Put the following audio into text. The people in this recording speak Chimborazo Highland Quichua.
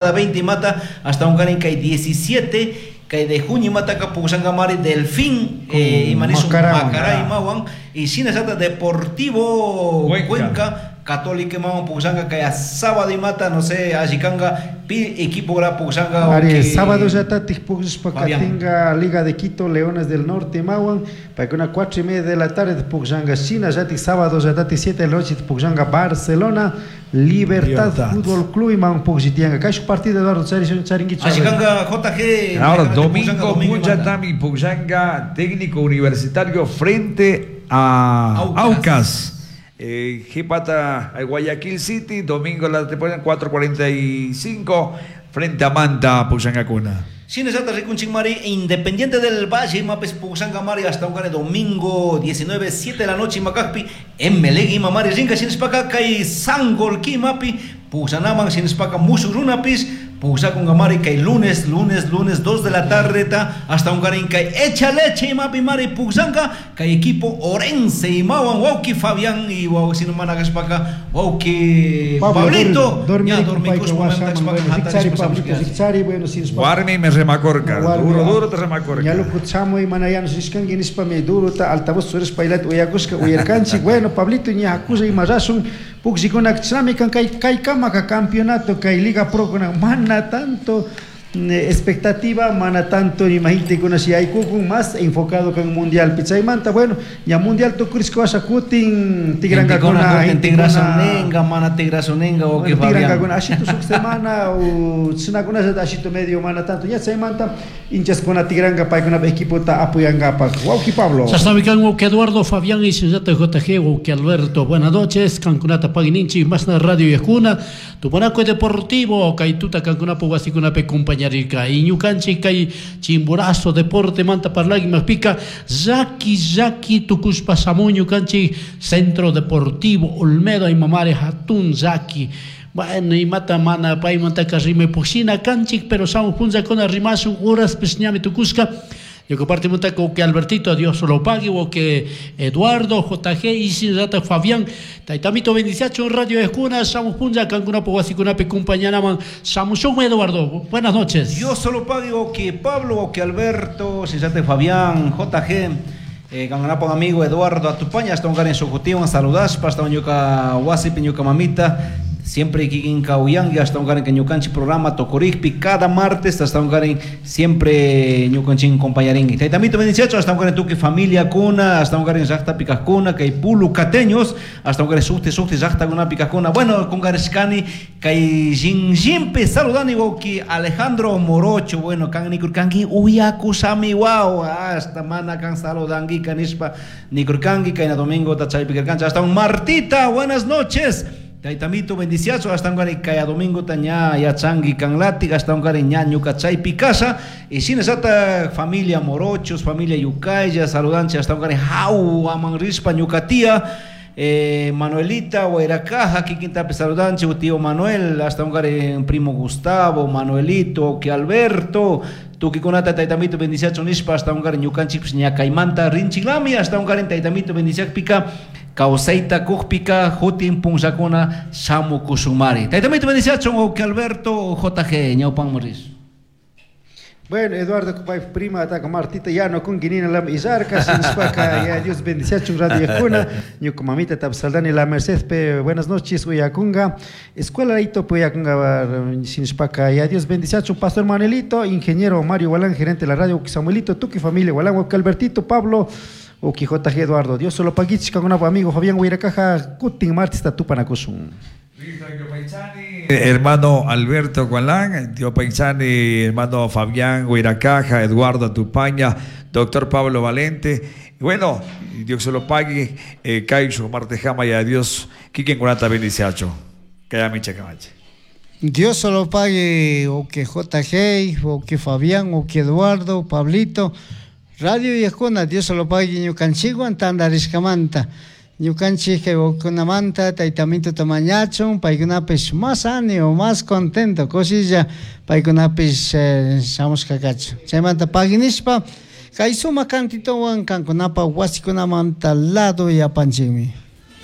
20 mata hasta un kay 17 kay de junio mata ka Mari Delfín imanisun Macará imawan y shinallata Deportivo Cuenca Católica imawan pukllanka kay sábado imata no sé allikanga pi equipo gra pukllanka. Ari sábado llatatik pukllashpa katinka Liga de Quito Leones del Norte imawan paykuna 4:30 de la tarde pukllanka, shinallatik sábado llatatik 7 de la noche pukllanka Barcelona Libertad Fútbol Club imawan pukllitianka. Kay partido Eduardo charinkichu. Allikanga JG. Ahora domingo punchatami pukllanka Técnico Universitario frente a Aucas. Jipata Guayaquil City, domingo la temporada 4:45 frente a Manta pukllankakuna. Shinallata rikunchik mari Independiente del Valle mapes pukllanka mari hasta un domingo 19, 7 de la noche makakpi Emelec ima mari rinka shinashpaka kay Sangolquí mapi pukllanaman shinashpaka mushuk runapis pukllakunka mari kay lunes 2 de la tarde ta hasta un kay echa leche imapi mari pukllanka kay equipo Orense imawan wawki Fabián y wawki sino manakashpaka wawki Pablito ña dormikushpa warmi me remacorca duro te remacorca ña lukuchamo y manayano sishkanki nishpami duro ta altavoz surishpa ilat uyakushka uyarkanchik. Bueno Pablito ña hakulla ima rashun pukllikunak chinami kan kay kamaka campeonato kay Liga Pro kuna mana tanto expectativa, mana tanto imagínate si hay kukun más enfocado con mundial pichaymanta. Bueno, ya mundial tukurishka washa kutin tigrankakuna tigrasunenga mana tigrasunenga o que tigrankakuna ashitu suk semana o chinakuna ashitu medio mana tanto ya chaymanta hinchaskuna tigranka paykuna equipota apoyankapak. Wawki Pablo. Chashnami kan wawki Eduardo Fabián y shinallata JG wawki Alberto. Buenas noches, kankunata pagininchik masna radio yakuna Tupanaco Deportivo kay tuta kankunapu wasikunapi compañía y ñukanchik kay Chimborazo Deporte manta parlagi mapika Yaki tukushpa shamun ñukanchik Centro Deportivo Olmedo y mamare hatun Yaki. Bueno, imata mana paymantaka rimay kanchik pero shamun punllakuna rimashun horas ñami tukushka. Yo comparto con que Albertito, Dios lo pague, o que Eduardo, JG, y Sinrata Fabián, Taitamito bendiciacho, Radio Escuna, Samus Punja, Cancuna, Poguasicunape, compañanaman, Samushon Eduardo, buenas noches. Dios solo pague, o que Pablo, o que Alberto, Sinrata Fabián, JG, Cangunapo amigo Eduardo Atupaña, hasta un en su saludaspa, hasta un yuca huasipi, ñuka mamita. Siempre kikin kauyangui hasta un que ñukanchik programa tokorikpi cada martes hasta un siempre ñukanchin compañaringui. Taitamito bendiciacho hasta un tuki familia kuna hasta un llaqta pikajkuna kay pulu cateños hasta un sukti sukti llaqtakuna pikajkuna. Bueno, kungarishkani kay shinshimpi saludani wawki Alejandro Morocho. Bueno, kan nikurkanki uyakusami waw hasta mana kan saludangi kanishpa nikurkanki kayna domingo tachaypi karkanchik hasta un Martita, buenas noches. Taitamito bendiciazo hasta un kaya domingo taña yachangi kanlati hasta un ña ñuka chaypi casa y sin esa familia Morochos, familia Yucaya, saludanche hasta un jau aman rispa ñuka tía Manuelita Huayracaja, kikintapi saludanche tío Manuel, hasta un primo Gustavo, Manuelito, que Alberto, tukikunata taitamito bendiciacho nishpa hasta un ñukanchik ñakaymanta rinchiklami hasta un taitamito bendiciakpika kawsayta kukpika hutin punllakuna shamukushunmari. Taitamito bendiciacho o que Alberto JG ñawpan moris. Bueno, Eduardo, prima, ataca Martita, ya no con guinina la izarca, sin spaca, ya Dios bendice radio yakuna, ñuka mamita tapsaldani la Merced, pe, buenas noches, uyakunga, escuela ito, uyakunga, sin spaca, ya Dios bendice Pastor Manuelito, ingeniero Mario Gualán, gerente de la radio, Samuelito, Tuki familia, Gualán, Albertito, Pablo, Uki JG Eduardo, Dios solo paguich, con un amigo Fabián Huiracaja, Kutin Martista Tupanakusun. Hermano Alberto Gualán, Tío Paisani, hermano Fabián Huiracaja, Eduardo Tupaña, doctor Pablo Valente. Bueno, Dios se lo pague, Caixo, Martejama y a Dios, Kiken Kunata bendiciacho. Kayamicha Camache. Dios se lo pague, o que JG, o que Fabián, o que Eduardo, Pablito. Radio Yajuna, Dios se lo pague, ñukanchikwan tantarishkamanta. Ñukanchik kay wawakunamanta taytamito tamañachun, paykunapish más ánimo, más contento, kushilla paykunapish shamushka kachun. Chaymanta paginishpa kay sumak kantitowan kankunapa wasikunamanta lado yapanchikmi.